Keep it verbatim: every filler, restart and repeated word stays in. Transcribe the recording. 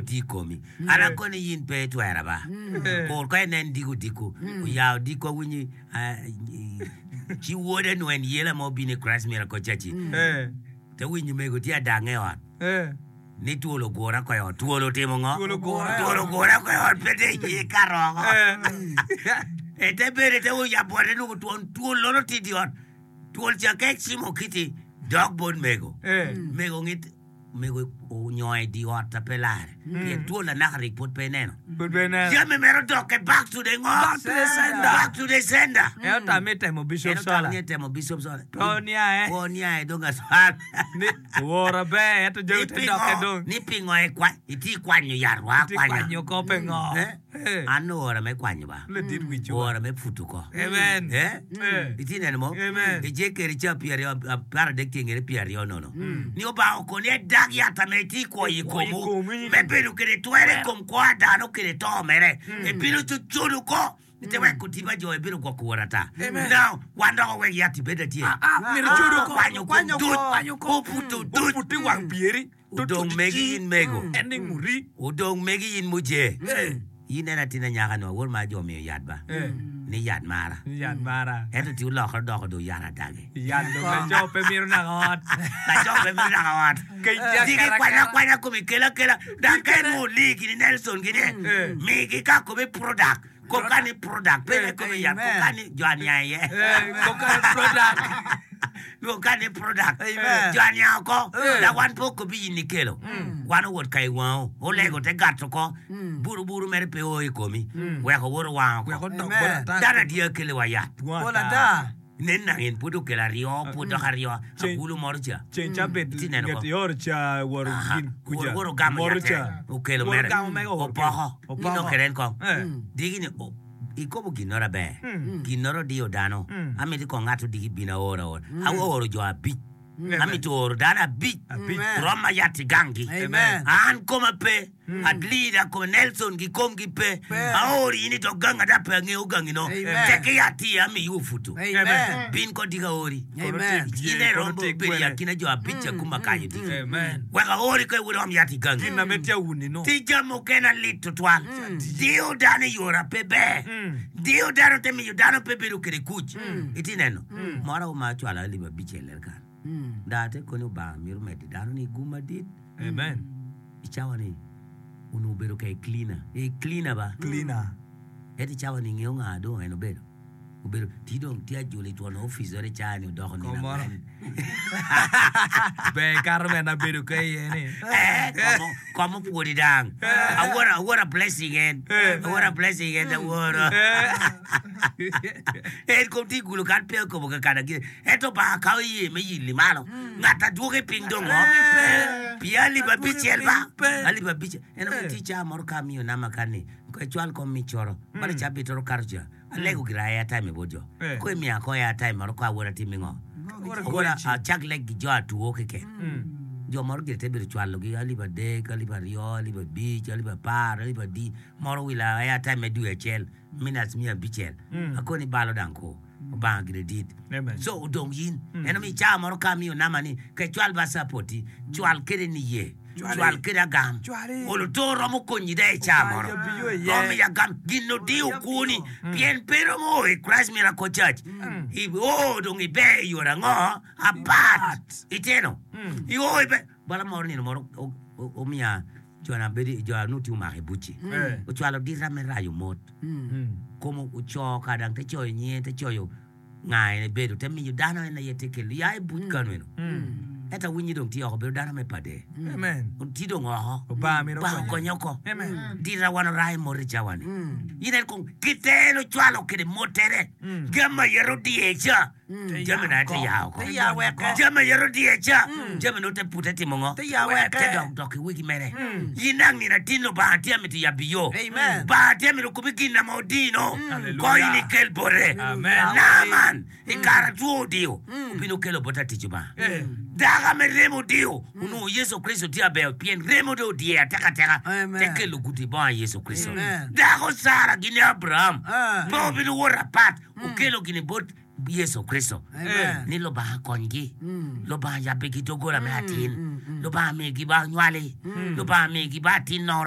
tye i komi. An akoni in pe itwera ba. Kur ka inen diko odiko, oya odiko awinyo ci wode nwen yela ma obino i Christ Miracle Church-ci. Te winyo mego tye adange i ot ni twol ogure oko i ot. Twol otimo ngo? Twol ogure i ot. Twol ogure oko i ot pe te iye kato oko. Ete bene te oyabo bote nongo twon twol nono tye i ot. Twol ca ka ecimo kiti dok bot mego. Mego ngit mego onyongo i dye ot a pe lare pien twol anaka rik pwod pe ineno. Pwod pe ineno. Jami mere odokke back to the ngo? Back to the sender. Back to the sender. En otamo ni etemo Bishop En otamo Sola. ni etemo Bishop Sola. Pe oniae. Pe oniae dong aswal. Ni owora ber ento jami Ni te pingo dokke dong. ni pingo ikwa- itye kwanyo yat wa Itye akwanya. kwanyo ko pe ngo. Eh? Eh. An owora me kwanyo ba. Ladit wic wa. Owora me puto ko. Amen. Eh? Eh. Itye neno mo? Amen. Ejekiel ca pyeraryo apar adek tye ingete pyeraryo nono. Ni Obanga okoni ni edag yat ame itye kwo i Kwo i komu komi. me bedo kede twero i kom kwo a dano kede to mere. Ebino cucudo ko te wek oti pa jo ebino gwoko wot ata. Now, wan dok owek yat ibed atye. Ah, myero icudo ko. Kwanyo kom Kwanyo duc. ko. Oputo duc. Oputo i wang pyeri. Odong megi in mego. En ni nguri. Odong megi in muje. Eh. In en atin anyaka ni wawor ma jo omiyo yat ba. Eh. Ni yat mara. Ni yat mara. Ento ti olokore odoko do yat adage. Yat dong laco pe mito naka ot. Laco pe mito naka ot. Kec tye Ti akela gikwanya akela. akwanya komi kelo akela. Dok ka inongo oli gini Nelson gini Eh. migi ka komi product. Koka ni product pe ne komi yat Amen. koka ni jo aniang iye. Eh, koka ni product. Koka ni product. Amen. Jo aniang oko. Dok wan pe okobi in ikelo. Wan owot ka i wango. Olego te gato oko. Buru buru mere pe o i komi. Wek owot owang oko. Wek odok Amen. bot ata. Dano adiya kele wa yat. Pol ata. Nen nang en pwod okelo aryo, pwod dok aryo, Ceng- agulu moro ca. Ceng cabit Itye neno nget ko? ioro ca woro Aha. gin kuca. Woro- woro ogamo Moro yatte, ca. okelo Woro mere. ogamo mege oworo Opoko. kelo. Ni nongo kede en kong. Eh. Digi ni o- ikobo ginnoro aber. Mm. Ginnoro diyo dano. Mm. Amiti kong ngat odigi bino aoro aora. Aoro jo abic. Amen. Amito oro dano abic. Abic. Amen. Roma yat i ganggi. Amen. An koma pe. At leader kome Nelson gi komgi pe. Pe. Aori in i dog gang ada pe angeyo gangi no. Amen. Tek yat iye amiyi oputo. Amen. Bin ko dika aori. Amen. In Kono eromo tye bedo i gwene. akina jo abic ca kuma kayo diki. Amen. Wek aori ko iwod om yat i gangi. Gin na me tye awuni no. Ti jami mukene alit tutwal. Diyo dano i yora pe ber. Diyo dano te miyo dano pe bedo kede kuc. Iti neno. Moro ma acwalo alip abicel ler kan. Daa te koni Obanga mito medo dano ni gum madit. Amen. I cawa ni onongo obedo ka i cleaner. I cleaner ba. Cleaner. Ento i cawa ni ngeyo nga dong en obedo. Obedo ti dong tye ajula i twon opic ore cawa ni odoko nino Komoro. angwen. Ber kato mene abedo ka iye ni. Eh, komo komo pwodi dang. Awora awora blessing en. Eh. Awora blessing en aworo. Eh. En kom tye i gulu kan pe okobo kakana gire. Ento Obanga kawo iye me yilli malo. Ngat adwoke piny dong ngo? Pi alip abicel ba. Alip abicel. En omiyo tye cawa moro ka amiyo namba kan ni ko icwal kom mi coro. Balo cabit oro kato ca. Alego gira airtime bot jo. Eh. Ko imiya ko airtime moro ko awora timi ngo? Awora acak leg gi jo atuo keken. Jo moro gire te bedo cwalogi alip adek, alip aryo, alip abic, alip apar, alip adi. Moro wila airtime me dwe acel, minutes miya abicel. Akoni balo dang ko. Obanga gire dit. Amen. So odong yin. En omiyo cawa moro ka amiyo namba ni ka icwal ba sapoti, cwal kede niye. Cwal kede agam. Cwali. Olo to romo konyi da i cawa moro. Obanjo biyo iye. Romo i agam. Gin odiyo kwoni. Pien pe romo o i Christ Miracle Church. I o dong iber i yore ango? Apat. Iteno. I o iber. Bala moro nino moro o- o- omiya jona bedo jo anu tye omako i bucci. Eh. Ocwalo dita me rayo mot. Kom oco ka dang te coyo nyinge te coyo nga en ebedo te miyo dano en aye te kelo ya i buc kanu eno. Ento awinyo dong tye oko bedo dano me pade. Amen. Tye dong oko. Obanga mito Obanga konye. okonye oko. Amen. Dita wan orayo mot i cawa ni. In en kong kite en ocwalo kede motere. Jami aye odiye ca. Jami na te ya oko. Te ya weke. Jami aye odiye ca. Jami no te pute timo ngo? Te ya weke. Te dok dok i wigi mere. In nang nino atin Lubanga tye amito yabbi yo. Amen. Lubanga tye amito kubi gin na ma odino. Hallelujah. Ko in ikel bote. Amen. Naaman i kare two odiyo obino kelo bot atic Lubanga. Eh. Daka me remo odiyo onongo Yecu Kricito tye aber pien remo dong odiye atekateka Amen. te kelo guti bongo Yecu Kricito. Amen. Dako Sara gini Abraham Ah. pe obino wot apat okelo gini bot Yecu Kricito Amen. ni Lubanga konygi, Lubanga yabbigi doggola me atin, Lubanga migi ba nywali, Lubanga migi ba atin noro.